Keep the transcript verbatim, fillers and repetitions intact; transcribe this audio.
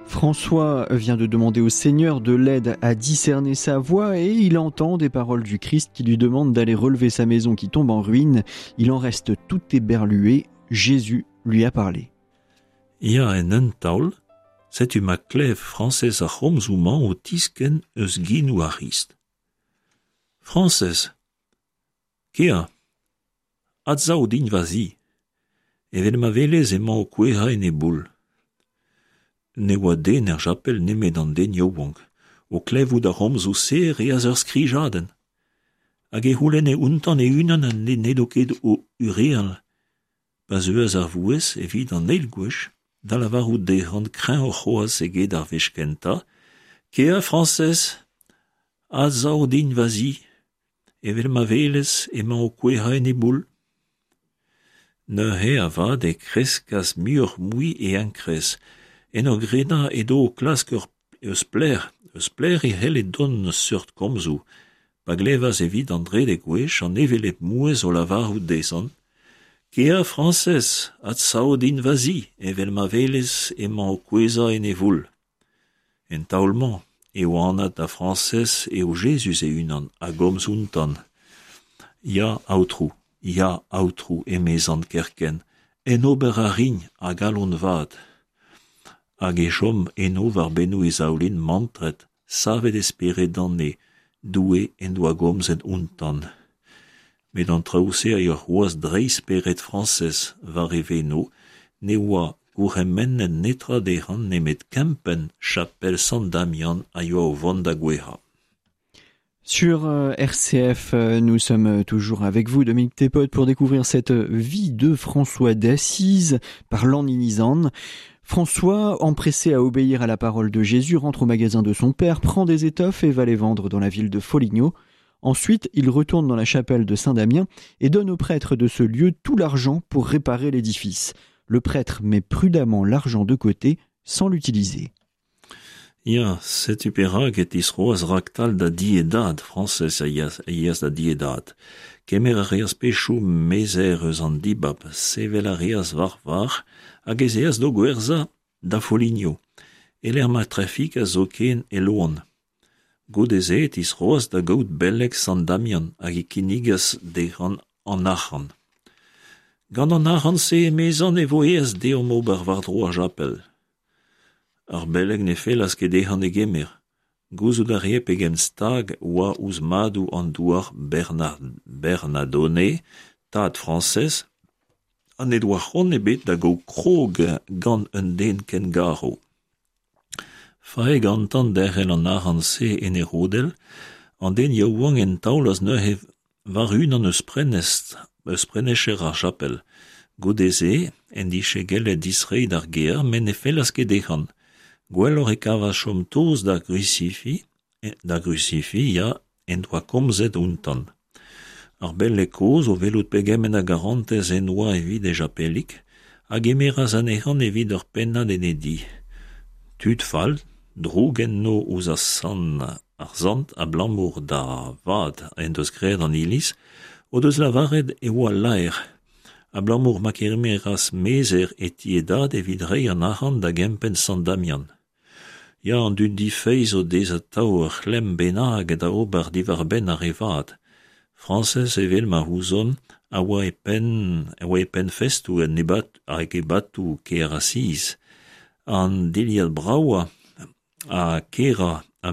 François vient de demander au Seigneur de l'aide à discerner sa voie et il entend des paroles du Christ qui lui demandent d'aller relever sa maison qui tombe en ruine. Il en reste tout éberlué. Jésus lui a parlé. Ya en un taol, setu ma klev Frañsez ar c'homzoù-mañ o tiskenn eus genoù ar C'hrist. Frañsez, kea, adsav din va zi, evel ma welez emañ o kouezhañ en e boull. Ne oa den er chapel nemet an den yaouank, o klevout ar c'homzoù-se e reas ur skrijadenn. Hag e c'houlenne outañ e-unan ha n'edo ket o hureal. Pa zeuas ar vouezh evit an eil gwech da lavarout dezhañ kreñvoc'h c'hoazh eget ar wech kentañ, Kea Frañsez, adsav din va zi, evel ma welez emañ o kouezhañ en e boull. Neuze avat e kreskas muioc'h-mui e enkrez, en ur gredañ edo o klask ur eus pelec'h, eus pelec'h e c'helle dont seurt komzoù, pa glevas evit an trede gwech an hevelep mouezh o lavarout dezhañ, Kea Frañsez, adsav din va zi, evel ma welez emañ o kouezhañ en e voull. En taol-mañ eo anat da Frañsez eo Jezuz e-unan a gomz outañ. Ya, Aotrou, ya, Aotrou, emezañ kerkent, en ober a rin a galon vat. Hag e chom eno war bennoù e zaoulin mantret, savet e spered d'an neñv, Doue en doa gomzet outañ. Met an traoù-se a yoa c'hoazh dreist spered Frañsez war e veno, ne oa gourc'hemennet netra dezhañ nemet kempenn chapel Sant Damian a yoa o vont da gouezhañ. Sur R C F, nous sommes toujours avec vous, Dominique Thépaut, pour découvrir cette vie de François d'Assise par Lan Inizan. François, empressé à obéir à la parole de Jésus, rentre au magasin de son père, prend des étoffes et va les vendre dans la ville de Foligno. Ensuite, il retourne dans la chapelle de Saint-Damien et donne au prêtre de ce lieu tout l'argent pour réparer l'édifice. Le prêtre met prudemment l'argent de côté sans l'utiliser. Ya, setu perak e tisroas raktal da di e dad, Frañsez a yeas, a yeas da di e dad. Kemer a reas pechoù mezer eus an dibab, sevel a reas war var, hag ez eas d'o gwerzhañ da Foligno, e-lec'h ma trafik a zoken e loan. Goude-se e tisroas da gaout beleg Sant Damian hag e kinnigas dezhañ an arc'hant. Gant an arc'hant-se emezañ e vo aes deomp ober war-dro ar chapel. Ar beleg ne fellas ket dezhañ e gemer. Gouzout a rae pegen stag oa ouzh madoù an douar Bernard, Bernardone, tad Frañsez, ha ne doa c'hoant ebet da gaout krog gant un den ken garv. Fae gantañ derc'hel an arc'hant-se en e rodell, an den yaouank en taolas neuze war unan eus prenestr, eus prenecher ar chapel. Goude-se en dije gellet distreiñ d'ar gêr, met ne fellas ket dezhañ. Gwelloc'h e kavas chom tost d'ar grusifi, d'ar grusifi, ya, en doa komzet outañ. Ar beleg kozh o welout pegement a garantez en doa evit e chapelig, a gemeras anezhañ evit ur pennad en e di. Tud fall, droug enno ouzh ar sant, ar sant abalamour da vat en deus graet an iliz, o deus lavaret e oa laer, abalamour ma kemeras mezer e ti e dad evit reiñ an arc'hant da gempenn Sant Damian. Ya, an dud difeiz o dez atav ur c'hlemm bennak da ober diwar-benn ar re vat. Frañsez evel ma ouzon a oa e penn, a oa e penn festoù en ebat, hag ebatoù kêr Asiz. An dilhad bravañ ha kerañ